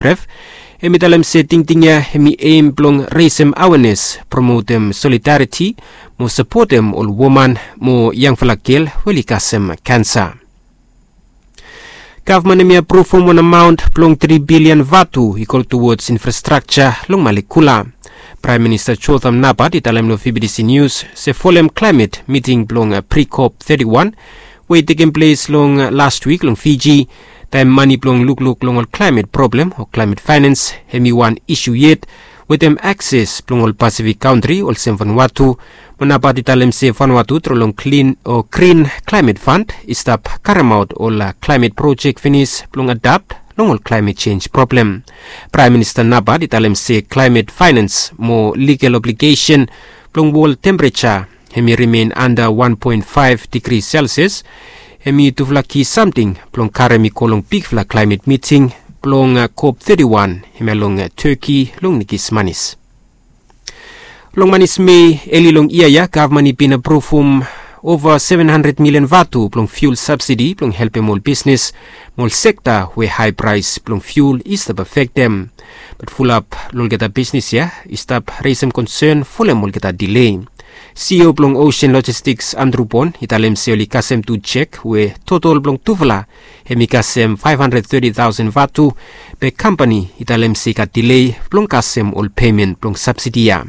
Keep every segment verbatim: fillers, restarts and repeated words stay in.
Ref, hem i talem se tingting ya hem i em blong resem awenes, promotem solidariti mo sapotem ol woman mo yangfala gel we oli kasem kansa. Gavman hem i apruvum wan amaon blong tri bilian vatu i go tuwods infrastrakja long Malekula. Praem Minista Jotham Napat i talem long V B T C Nius se folem klaemet miting blong Pre-COP thirty-one we i tekem ples long last wik long Fiji, taem mane blong lukluk long ol klaemet problem o klaemet faenans hem i wan isu yet wetem akses blong ol Pasifik kantri olsem Vanuatu. Mo Napat i talem se Vanuatu tru long klin o grin klaemet fan i stap karemaot ol klaemet projek finis blong adapt long ol klaemet jenj problem. Praem Minista Napat i talem se klaemet faenans mo ligal obligesen blong wol tempereja hem i rimen anda wan poen faef digri Selsias hem i tufala ki samting blong karem i go long bigfala klaemet miting blong COP thirty-one hemia long Turkey long Nikis Manis. Long manis Mei eli long yia ya gavman i bin apruvum ova seven handred milian vatu blong fiul sabsidi blong helpem ol bisnes mo ol sekta we hae praes blong fiul i stap afektem. Bat fulap long olgeta bisnes ya i stap resem konsen folem olgeta delei. CEO blong Ocean Logistics Andrew Bond i talem se oli kasem tu jek we totol blong tufala hem i kasem faef handred teti taosen vatu, be kampani i talem se i gat delei blong kasem ol pemen blong sabsidi ya.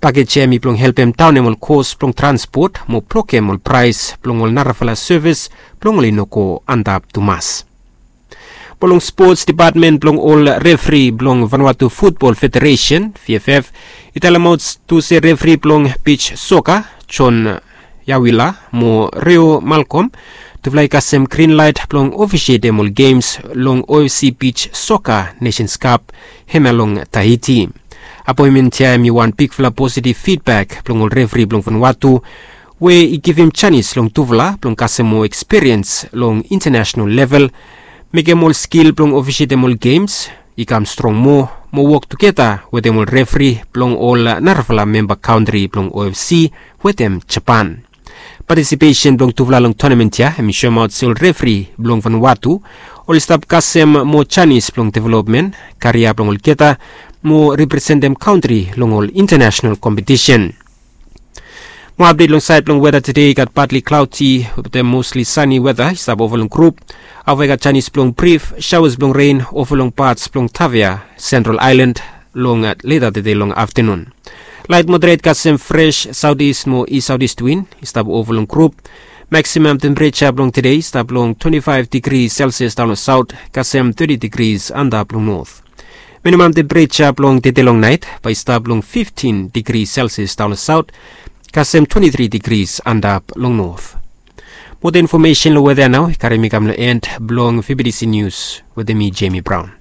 Pakej ya hem i blong helpem daonem ol kos blong transpot mo blokem ol praes blong ol narafala sevis blong oli no go antap tumas. Mo long spots depatmen blong ol refri blong Vanuatu Futbol Federesen, VFF, i talemaot tu se refri blong bij soka John Yawila mo Reo Malcolm tufala i kasem grinlaet blong ofisietem ol gems long OFC bij soka Nations Cup hemia long Tahiti. Apoenmen ya hem i wan bigfala positiv fidbak blong ol refri blong Vanuatu we i givim janis long tufala blong kasem moa ekspiriens long intanesenal level, mekem ol skil blong ofisietem ol gems i kam strong moa mo wok tugeta wetem ol refri blong ol narafala memba kantri blong OFC wetem Japan. Patisipesen blong tufala long tonamen ya hem i soemaot se ol refri blong Vanuatu oli stap kasem moa janis blong developmen karia blong olgeta mo representem kantri long ol intanesenal kompetisen. Mo apdet long saed blong weta tede i gat patli klaodi wetem mosli sani weta i stap ova long grup. Afta i gat janis blong brif saoas blong ren ova long pats blong Tavea, Sentral Aelan long leta tede long aftanun. Laet moderet kasem fres saotis mo is saotis win i stap ova long grup. Maksimam tempereja blong tede i stap long twenti faef digri Selsias daon long saot kasem teti digris antap long not. Minimam tempereja blong tede long naet bae i stap long fiftin digri Selsias daon long saot kasem twenti tri digris antap long not. Moa infomesen long weta ya nao i karem mi kam long en blong VBTC Nius wetem mi, Jemi Braon.